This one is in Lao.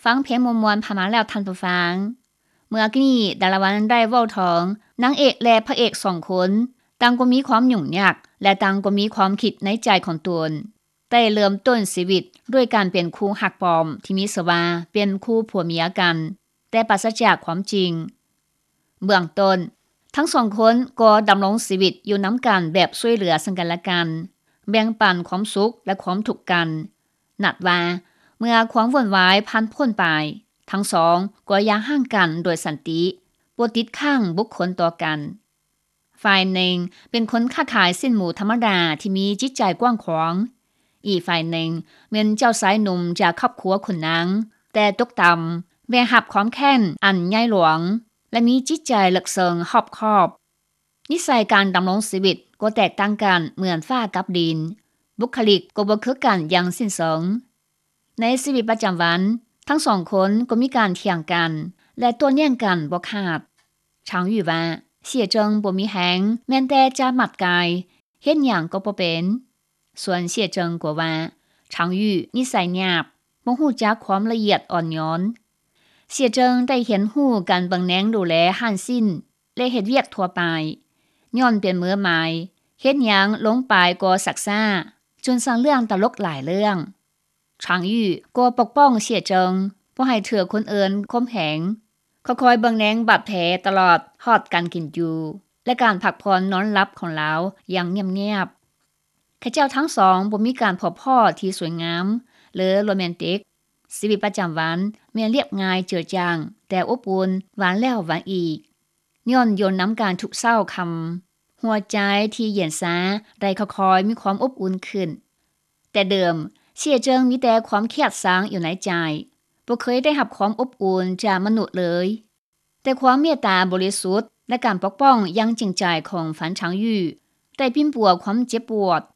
ຟັງເພງມ່ວນໆຜ່ານມາແລ້ວທ່ານຜູ້ຟັງ. ເມື່ອກີ້ນີ້ດາລາວັນໄດ້ເວົ້າເຖິງນາງເອກ ແລະ ພະເອກສອງຄົນ ຕ່າງກໍມີຄວາມຫຍຸ້ງຍາກ ແລະ ຕ່າງກໍມີຄວາມຄິດໃນໃຈຂອງຕົນ ໄດ້ເລີ່ມຕົ້ນຊີວິດດ້ວຍການເປັນຄູ່ຮັກປອມທີ່ມີຊື່ວ່າເປັນຄູ່ຜົວເມຍກັນ ແຕ່ປາສະຈາກຄວາມຈິງ. ເບື້ອງຕົ້ນ, ທັງສອງຄົນກໍດຳລົງຊີວິດຢູ່ນຳກັນແບບຊ່ວຍເຫຼືອເຊິ່ງກັນແລະກັນ, ແບ່ງປັນຄວາມສຸກ ແລະ ຄວາມທຸກກັນ. ນັດວ່າເມື່ອຄວາມວຸ່ນວາຍຜ່ານພົ້ນໄປ, ທັງສອງກໍຢ່າຮ້າງກັນໂດຍສັນຕິ, ບໍ່ຕິດຄ້າງບຸກຄົນຕໍ່ກັນ. ຝ່າຍໜຶ່ງເປັນຄົນຄ້າຂາຍຊີ້ນໝູທຳມະດາທີ່ມີຈິດໃຈກວ້າງຂວາງ. ອີກຝ່າຍໜຶ່ງແມ່ນເຈົ້າຊາຍໜຸ່ມຈາກຄອບຄົວຂຸນນາງ, ແຕ່ຕົກຕ່ຳ, ແບກຮັບຄວາມແຄ້ນອັນໃຫຍ່ຫຼວງ ແລະ ມີຈິດໃຈເລິກເຊິ່ງຮອບຄອບ. ນິໄສການດຳລົງຊີວິດກໍແຕກຕ່າງກັນເໝືອນຟ້າກັບດິນ, ບຸກຄະລິກກໍບໍ່ຄືກັນຢ່າງສິ້ນເຊີງ. ໃນຊີວິດປະຈຳວັນ, ທັງສອງຄົນກໍມີການຖຽງກັນ ແລະ ໂຕ້ແຍ້ງກັນບໍ່ຂາດ. ຊາງຢູ່ວ່າ, ເສຍເຈິງບໍ່ມີແຮງ, ແມ່ນແຕ່ຈະໝັດກາຍ, ເຮັດຫຍັງກໍບໍ່ເປັນ. ສ່ວນເສຍເຈິງກໍວ່າ, ຊາງຢູ່ນິໄສຫຍາບ, ບໍ່ຮູ້ຈັກຄວາມລະອຽດອ່ອນໂຍນ. ເສຍເຈິງໄດ້ຮຽນຮູ້ການເບິ່ງແຍງດູແລຮ້ານຊີ້ນ ແລະ ເຮັດວຽກທົ່ວໄປ. ຍ້ອນເປັນມືໃໝ່, ເຮັດຫຍັງລົງໄປກໍຊັກຊ້າ, ຈົນສ້າງເລື່ອງຕະຫຼົກຫຼາຍເລື່ອງ. ຊາງຢູ່ກໍປົກປ້ອງເສຍເຈິງ, ບໍ່ໃຫ້ຖືກຄົນອື່ນຂົ່ມເຫງ, ຄອຍໆເບິ່ງແຍງບາດແຜຕະຫຼອດຮອດການກິນຢູ່ ແລະ ການພັກຜ່ອນນອນຫຼັບຂອງລາວຢ່າງງຽບໆ. ເຂົາເຈົ້າທັງສອງບໍ່ມີການພົບພໍ້ທີ່ສວຍງາມ ຫຼື ໂຣແມນຕິກ. ຊີວິດປະຈຳວັນແມ່ນລຽບງ່າຍເຈີຈາງ, ແຕ່ອົບອຸ່ນ, ຫວານແລ້ວຫວານອີກ. ຍ້ອນຢູ່ນຳກັນທຸກເຊົ້າຄ່ຳ, ຫົວໃຈທີ່ເຢັນຊາໄດ້ຄ່ອຍໆມີຄວາມອົບອຸ່ນຂຶ້ນ. ແຕ່ເດີມ, ເສຍເຈິງມີແຕ່ຄວາມຄຽດຊັງຢູ່ໃນໃຈ, ບໍ່ເຄີຍໄດ້ຮັບຄວາມອົບອຸ່ນຈາກມະນຸດເລີຍ. ແຕ່ຄວາມເມດຕາບໍລິສຸດ ແລະ ການປົກປ້ອງຢ່າງຈິງໃຈຂອງຟານຊາງຢູ່ ໄດ້ປິ່ນປົວຄວາມເຈັບປວດ